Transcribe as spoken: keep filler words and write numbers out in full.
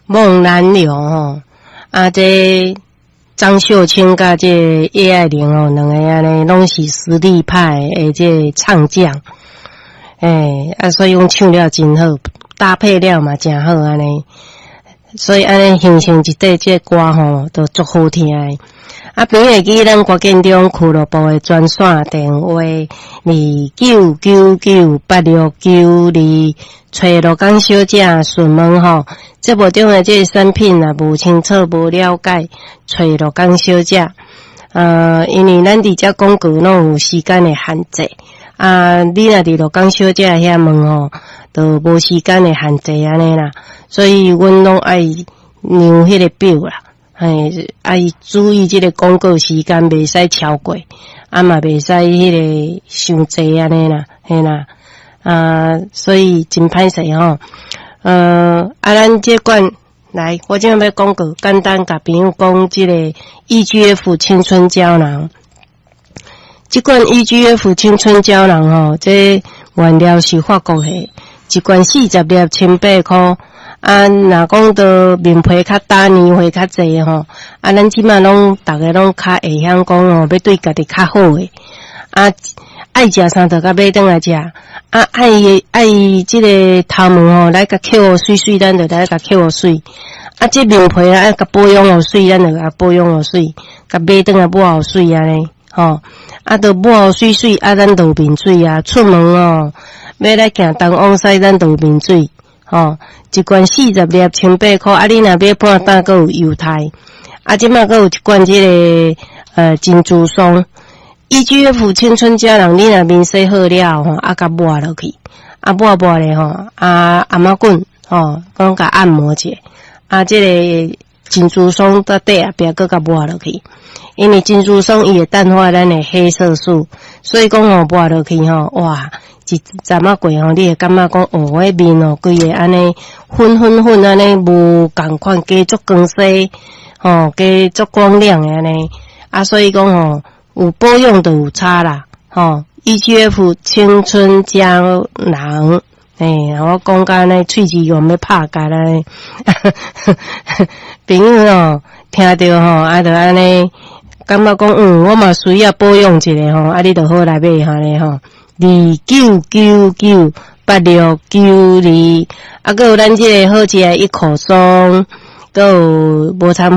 夢難留吼，啊，這張秀卿佮這葉愛玲吼，兩个按呢攏是實力派的這唱將，欸，啊，所以講唱了真好，搭配了嘛誠好按呢，所以按呢形成一塊這歌吼，都足好聽的。啊，朋友會記咱歌建中俱樂部的專線電話二九九九八六九二，揣羅江小姐詢問吼，節目中的這个產品若無清楚、無了解，揣羅江小姐。呃，因為咱佇遮廣告攏有時間的限制，啊，你若佇羅江小姐遐問吼，就無時間的限制按呢啦，所以阮攏愛量彼个表啦。嘿，愛注意這个廣告時間，袂使超過，啊嘛袂使彼个傷濟按呢啦，嘿啦，啊，所以真歹勢吼。呃，啊，咱這罐來，我這欲廣告，簡單共朋友講這个 E G F 青春膠囊。這罐 E G F 青春膠囊吼，這原料是法國的，一罐四十粒，千八箍。啊，若講到面皮較焦，年歲較濟吼，啊，咱這馬攏逐个攏較會曉講吼，欲對家己較好的。啊，愛食啥就共買轉來食。啊，愛愛這个頭毛吼，來共抾予媠媠，咱就來共抾予媠。啊，這面皮啊，愛共保養予媠，咱就共保養予媠，共買轉來抹予媠按呢，吼。啊，就抹予媠媠，啊，咱就有面水啊，出門哦，欲來行東往西，咱就有面水。吼，一罐四十粒，千八箍。啊，你若買半擔，閣有優待。啊，這馬閣有一罐這个呃珍珠霜，E G F 青春膠囊，你若面洗好了吼，啊，共抹落去，啊，抹抹咧吼，啊，按摩棍吼，講共按摩者，啊，這个珍珠霜佇底後壁閣共抹落去，因為珍珠霜伊會淡化咱的黑色素，所以講吼抹落去吼，哇！一陣仔過吼，你會感覺講哦，我面哦，規个按呢粉粉粉按呢無仝款，加足光鮮，吼，加足光亮的按呢。啊，所以講吼，有保養就有差啦，吼。E G F 青春膠囊，欸，我講甲按呢，喙齒用欲拍結按呢，朋友吼，聽著吼，啊，就按呢，感覺講嗯，我嘛需要保養一下吼，啊，你就好來買按呢吼。二九九九八六九二，啊，閣有咱這个好食的一口松，閣有無摻。